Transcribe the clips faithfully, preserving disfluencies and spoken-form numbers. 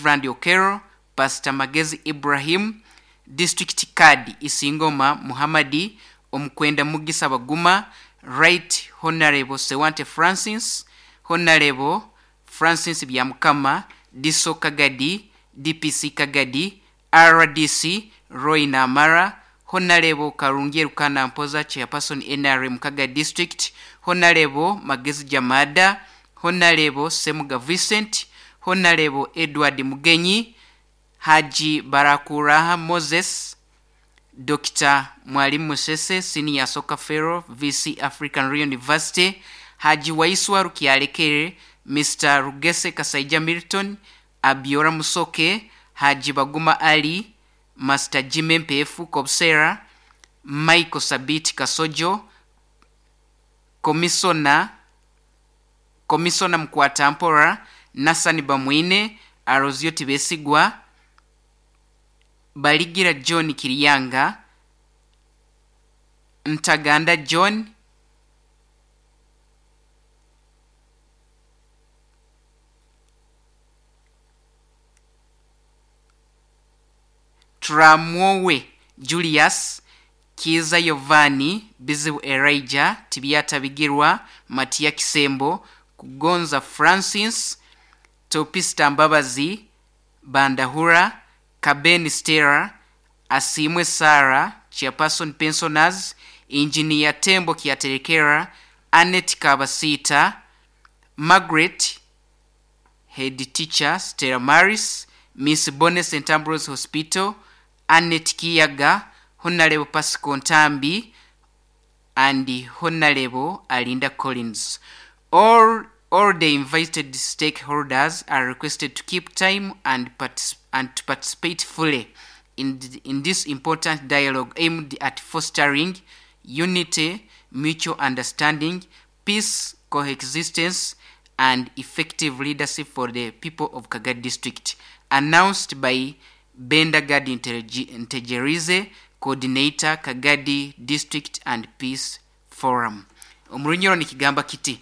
Reverend Okero, Pastor Magezi Ibrahim, District Card Isingoma Muhammadi, Omukwenda Mugisa Baguma, Right Honorable Sewante Francis, Honorable Francis Byamukama, Diso Kagadi, D P C Kagadi, R D C Roy Namara, Honorable Karungi Rukana Mpoza, Chairperson N R M Kagadi District, Honorable Magezi Jamada, Honorable Semuga Vincent, Honorable Edward Mugenyi, Haji Barakuraha Moses, Doctor Mwalimu Musese, Senior Soccer Fellow, V C African Royal University, Haji Waiswa Rukialekere, Mister Rugese Kasaija Milton, Abiora Musoke, Haji Baguma Ali, Master Jimmy Mpefu Kobsera, Michael Sabiti Kasojo, Commissioner, Commissioner Mkwatampora, Nasani Bamwine, Arozio Tibesigwa, Baligira John Kiriyanga, Ntaganda John, Tramwowe Julius, Kiza Yovani, Bizibu Elijah, Tibiata Bigirwa, Matia Kisembo, Kugonza Francis, Topista Mbabazi, Bandahura, Kabeni Stera, Asimwe Sara, Chairperson Pensioners, Engineer Tembo Kiaterekera, Annette Kabasita, Margaret, Head Teacher Stella Maris, Miss Bonne Saint Ambrose Hospital, Annette Kiyaga, Honorable Pascal Ntambi, and Honorable Alinda Collins. All, all the invited stakeholders are requested to keep time and, partic- and to participate fully in, th- in this important dialogue aimed at fostering unity, mutual understanding, peace, coexistence, and effective leadership for the people of Kagadi District. Announced by Benda Gadi Ntegerize, Coordinator, Kagadi District and Peace Forum. Omurunyoro nikigamba kiti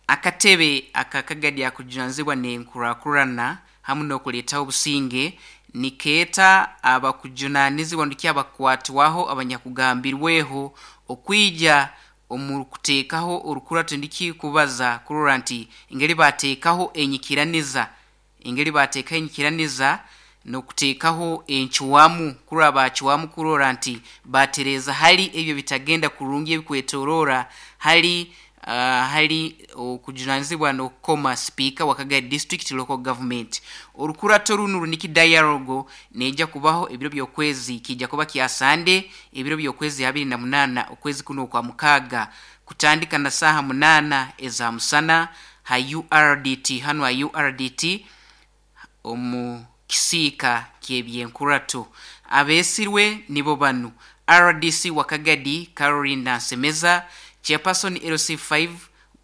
akatebe aka Kagadi akujunanizibwa n'enkurakurana hamu n'okuleetaho obusinge nikeeta abakujunanizibwa ndiki abakwatwaho abanyakugambirweho okwija omu kuteekaho orukurato ndiki kubaza kurora nti engeri bateekaho enyikiraniza engeri bateekaho enyikiraniza n'okuteekaho encuwamu kurora bacuwamu kurora nti batereeza hali ebyo bitagenda kurungi ebikwetoroora hali Uh, hali okujunanizibwa n'okukoma speaker wa Kagadi District Local Government. Orukurato runu runiki dialogue neja kubaho ebiro by'okwezi kijja kuba kya Sunday ebiro by'okwezi abiri na munana okwezi kuno kwa mukaga kutandika na saha munana eza musana ha U R D T hano ha U R D T omu kisiika ky'ebyenkurato. Abesirwe nibo banu R D C wa Kagadi Caroline Nsemeza, Chairperson L C five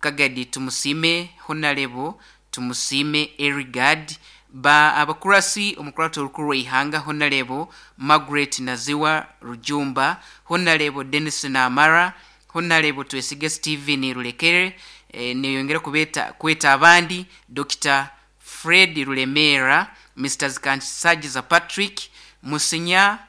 Kagadi Tumusime Honorable Tumusime Erigad, ba abakurasi omukurato olukuru lw'eihanga Honorable Margaret Naziwa Rujumba, Honorable Dennis Namara, Honorable Twesige Steven Rulekere, e, neyongera kubeta kweta abandi Doctor Fred Rulemera, Mister Kansagiza Patrick, Musinya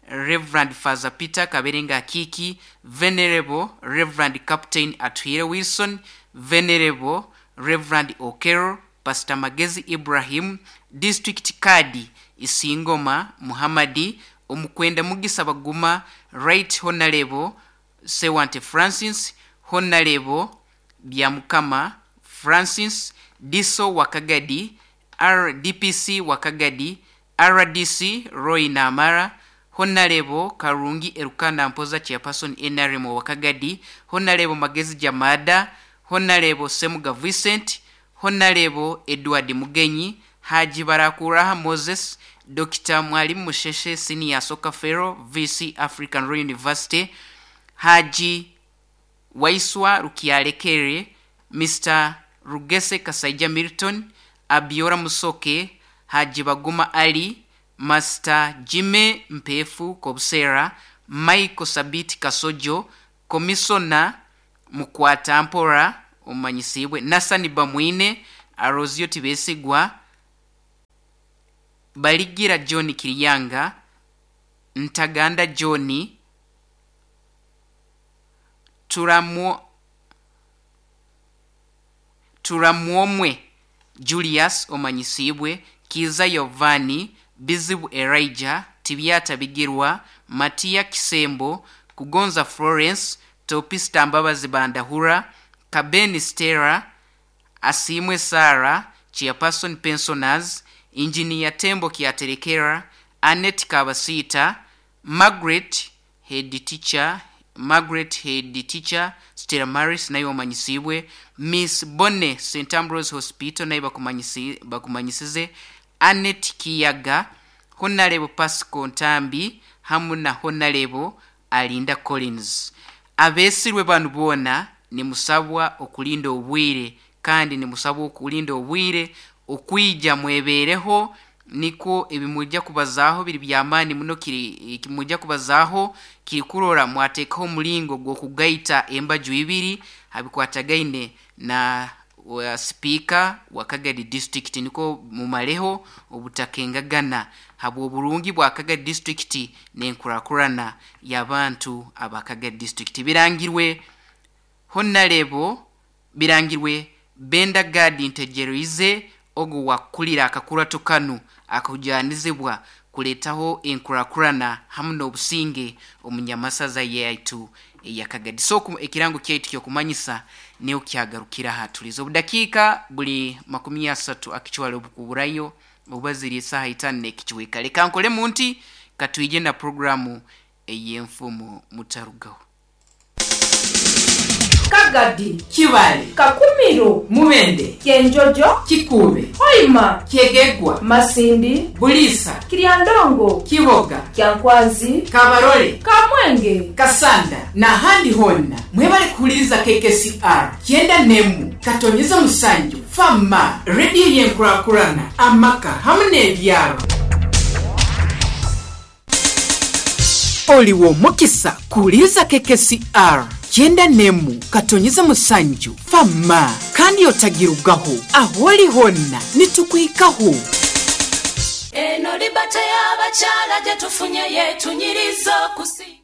Reverend Father Peter Kaberenga Kiki, Venerable Reverend Captain Atuhire Wilson, Venerable Reverend Okero, Pastor Magezi Ibrahim, District Kadi Isingoma Muhammadi, Omukwenda Mugisa Baguma, Right Honorable Sewante Francis, Honorable Byamukama Francis, Diso Wakagadi, R D P C Wakagadi, R D C Roy Namara, Honorable Karungi Erukana Mpoza, Chairperson N R M Wakagadi, Honorable Magezi Jamada, Honorable Semuga Vincent, Honorable Edward Mugenyi, Haji Barakuraha Moses, Doctor Mwalimu Musheshe Senior Soccer Fellow, V C African Royal University, Haji Waiswa Rukialekere, Mister Rugese Kasaija Milton, Abiora Musoke, Haji Baguma Ali, Master Jimmy Mpefu Kobsera, Michael Sabiti Kasojo, Commissioner Mukwata Mpora omanyisibwe, Nasani Bamwine, Arozio Tibesigwa, Baligira John Kiriyanga, Ntaganda John, Turamwo Turamwomwe Julius omanyisibwe, Kiza Yovani, Bizibu Elijah, Tibyata Bigirwa, Matia Kisembo, Kugonza Florence, Topista Mbabazi Bandahura, Kabeni Stella, Asimwe Sara, Chairperson Pensioners, Engineer Tembo Kiaterekera, Annette Kabasita, Margaret Head Teacher, Margaret Head Teacher, Stella Maris nayo omanyisibwe, Miss Bonne Saint Ambrose Hospital nayo bakumanyisi bakumanyisize, Annette Kiyaga, Honorable Pascal Ntambi hamu na Honorable Alinda Collins. Abesirwe banu bona nimusabwa okulinda obwire, kandi nimusabwa okulinda obwire okwija mwebereho, niko ebimujja kubazaho biri byamani muno, kiri kimujja kubazaho kiri kurora mwatekaho omulingo gw'okugaita embaju ibiri abikwatagaine na wa speaker wa Kagadi district, niko mumaleho obutakengagana habw'oburungi bwa Kagadi district n'enkurakurana y'abantu aba Kagadi district. Birangirwe Honorable birangirwe Benda Gadi Ntegereize ogo wakulira akakurato kanu akujanizibwa kuletaho enkurakurana hamu n'obusinge omunyamasaza yaitu eya Kagadi. So ekirango kyaitu kyokumanyisa niyo kyagarukira aha tulizo obudakiika buli makumi asatu akichwale obukuburayo obaziri esaha itano n'ekichweka. Leka nkole munti katwije na programu ey'enfumu mutarugaho. Kagadi, Kibale, Kakumiro, Mubende, Kyenjojo, Kikube, Hoima, Kyegegwa, Masindi, Bulisa, Kiryandongo, Kiboga, Kyankwanzi, Kabarole, Kamwenge, Kasanda na handi honna. Mwebale kuhuliriza K K C R kyenda nemu katonyeza musanju fama radio yenkurakurana amaka hamu n'ebyaro. Oliwo mukisa kuhuliriza K K C R kyenda nemu katonyeza musanju fama kandi otagirugaho aholi honna nitukwikaho. Eno libate y'abakyala gye tufunye yetunyiriza okusinga.